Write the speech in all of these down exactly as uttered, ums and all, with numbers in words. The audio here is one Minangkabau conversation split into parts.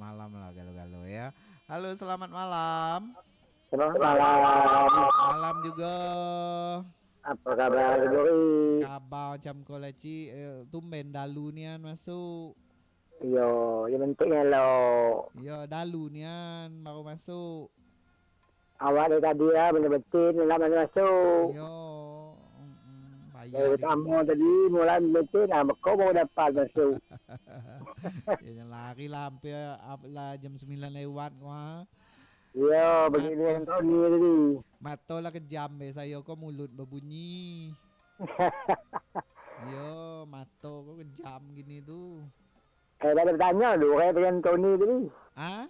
Malam lah galo-galo ya. Halo, selamat malam. Selamat malam. Malam juga. Apa kabar, Duri? Kabar macam ko lah, Cik. Eh, tumben dalu nian masuk. Iyo, yo bentuknyo lo. Iyo, dalu nian baru masuk. Awak dari tadi lah, bana betin, nak mano masuk. Iyo, mm-mm, payah Dari dek. Samo tadi, mulai betin, nah, beko baru dapat masuk. Yo, jan lari lah, hampir, ap-, lah jam sembilan lewat ko, ha. Iyo, begini Mato. Antoni tadi. Mato lah kejam be sayo ko, mulut babunyi. Iyo, mato ko kejam gini tu. Eh, dak ado tanyo, durai dengan Tony tadi. Ah?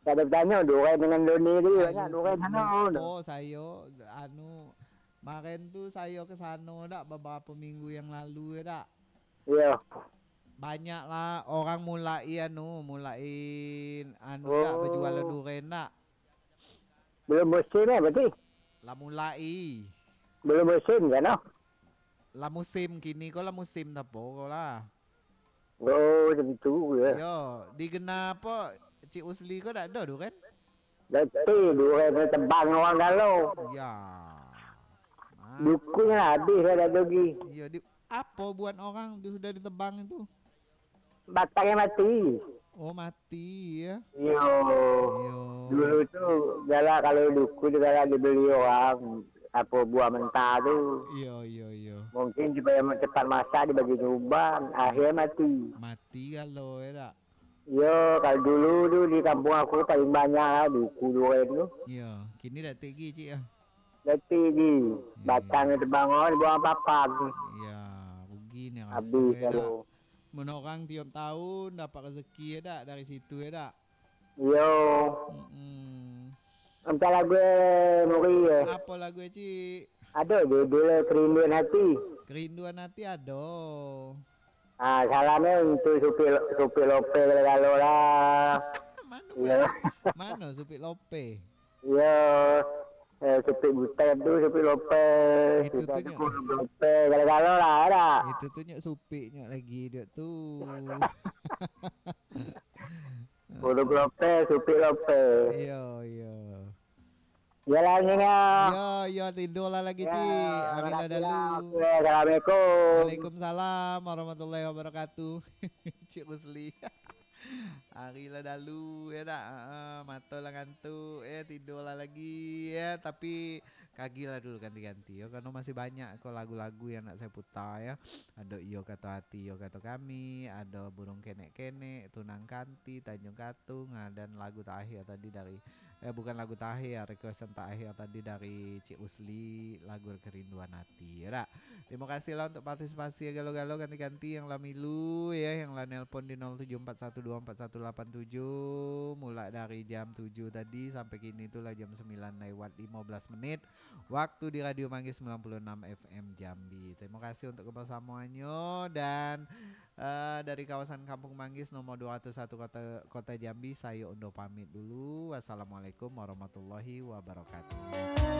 Dak ado tanyo, durai dengan Doni tadi, banyak durai sana. Lupo sayo, anu, kemarin tu sayo ke sano dak, beberapa minggu yang lalu ya dak? Iyo. Banyak lah orang mulai anu, mulai anu dak, Oh. Bejualan duren dak? Belum musim eh, berarti? Lah mulai. Belum musim kan, oh? Lah musim, kini ko lah musim tapo ko lah. Oh, tentu ya. Yo, di gena apo, Cik Usli ko dak ado duren? Dak ado duren, tebang orang galo. Ya. Ah. Dukunnyo lah habis lah, dak ado lagi. Iyo, di, apo buat orang tu sudah ditebang itu? Batangnyo mati. Oh, mati ya. Iyo. Iyo. Dulu tu galak, kalau duku tu galak dibeli orang, apo, buah mentah tu. Iyo, iyo, iyo. Mungkin supaya cepat masak, dibagi uban, akhirnyo mati. Mati galo ya dak? Iyo, kalau dulu tu di kampung aku paling banyak lah duku duren tu. Iyo, kini dak tek lagi, Cik, ah? Dak tek lagi. Iyo. Batangnyo tebang, dibuang papan. Iyo, rugi ni raso. Habis ya dak? Lalu. Mun orang tiok tahun dapat rezeki ya dak dari situ ya dak? Iyo. Mm-mm. Antah lagu eh, Muri eh. Apo lagu eh, Cik? Ado judul eh, Kerinduan Hati. Kerinduan Hati ado. Ah, salamnyo untuk Supik Lo-, Supik Lope galo-galo lah. Mano Iyo. Mano Supik Lope? Iyo. Eh, Supik Butet tu, Supik Lope. Itu Supik tu nyo. Lope, galo-galo lah, ado. Itu tu nyo Supik nyo lagi, dek tu. Supik Lope, Supik Lope. Iyo, iyo. Iyolah, Nyinya. Iyo, iyo, tidur lah lagi, Ya, Cik. Ambil lah makasih lah. Dalu. Oke, assalamualaikum. Waalaikumsalam warahmatullahi wabarakatuh. Cik Rusli. Ari lah dalu, ya dak? Heeh, mato lah ngantuk, ya, tidur lah lagi, ya. Tapi, kagilah dulu ganti-ganti, ya. Karena masih banyak ko lagu-lagu yang nak saya putar, ya. Ado Iyo Kato Ati, Iyo Kato Kami, ado Burung Kenek-Kenek, Tunang Kanti, Tanjung Katung, ah, dan lagu terakhir tadi dari, eh, bukan lagu terakhir, requestan terakhir tadi dari Cik Usli, lagu Kerinduan Hati, ya dak? Terima kasih lah untuk partisipasi galo-galo ganti-ganti yang lah milu, ya, yang lah nelpon di nol tujuh empat satu dua empat satu lapan tujuh, mulai dari jam tujuh tadi sampai kini tu lah jam sembilan lewat lima belas menit. Waktu di Radio Manggis sembilan puluh enam F M Jambi. Terima kasih untuk kebersamuannyo dan, eh, dari kawasan Kampung Manggis nomor dua ratus satu Kota, Kota Jambi, sayo Undo pamit dulu. Wassalamualaikum warahmatullahi wabarakatuh.